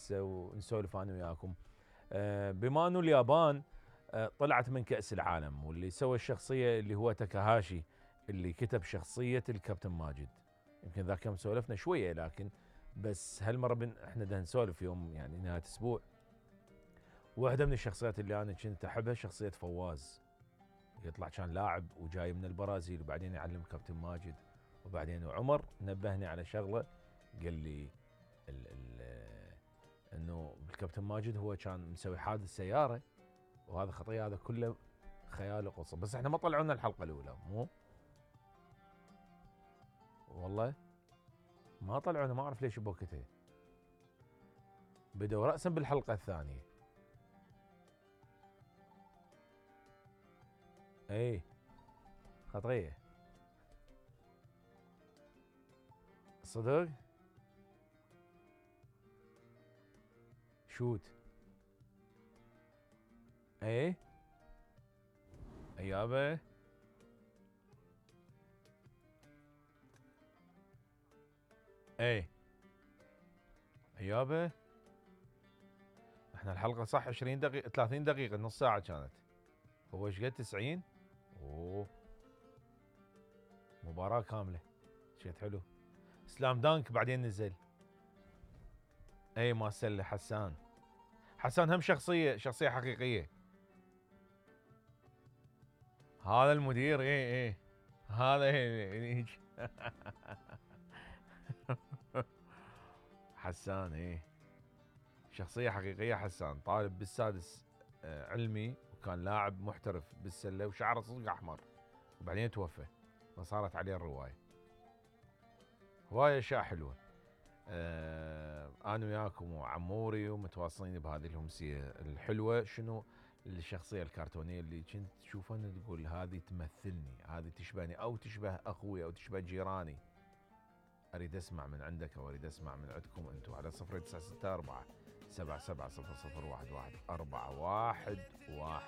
هسه ونسولف انا وياكم. بما انه اليابان طلعت من كأس العالم، واللي سوى الشخصية اللي هو تاكاهاشي اللي كتب شخصية الكابتن ماجد. يمكن ذاك يوم سولفنا شوية، لكن بس هالمرة احنا بدنا نسولف يوم يعني نهاية اسبوع. واحدة من الشخصيات اللي انا كنت احبها شخصية فواز، يطلع كان لاعب وجاي من البرازيل وبعدين يعلم كابتن ماجد. وبعدين عمر نبهني على شغلة، قال لي انه الكابتن ماجد هو كان مسوي حادث سيارة، وهذا خطية، هذا كله خيال وقصة. بس احنا ما طلعونا الحلقة الأولى، مو والله ما طلعونا، ما أعرف ليش بوقتها. بدأوا رأسا بالحلقة الثانية. اي خطية صدق. شوت ايه ايابه ايه ايابه. احنا الحلقة صح 20 دقيقة 30 دقيقة، نص ساعة كانت. هو ايش قد 90؟ اوه مباراة كاملة، شيء حلو. سلام دانك بعدين نزل. اي ما سلة حسان. حسان هم شخصية حقيقية. هذا المدير ايه هذا ايه حسان ايه شخصية حقيقية. حسان طالب بالسادس علمي، وكان لاعب محترف بالسلة وشعره صدق احمر، وبعدين توفى فصارت عليه الرواية. هواية اشياء حلوة. انا وياكم وعموري ومتواصلين بهذه الامسية الحلوة. شنو الشخصية الكرتونية اللي كنت تشوفها تقول هذه تمثلني، هذه تشبهني، او تشبه اخوي، او تشبه جيراني؟ اريد اسمع من عندك، او اريد اسمع من عندكم انتم على 0964 770011 411.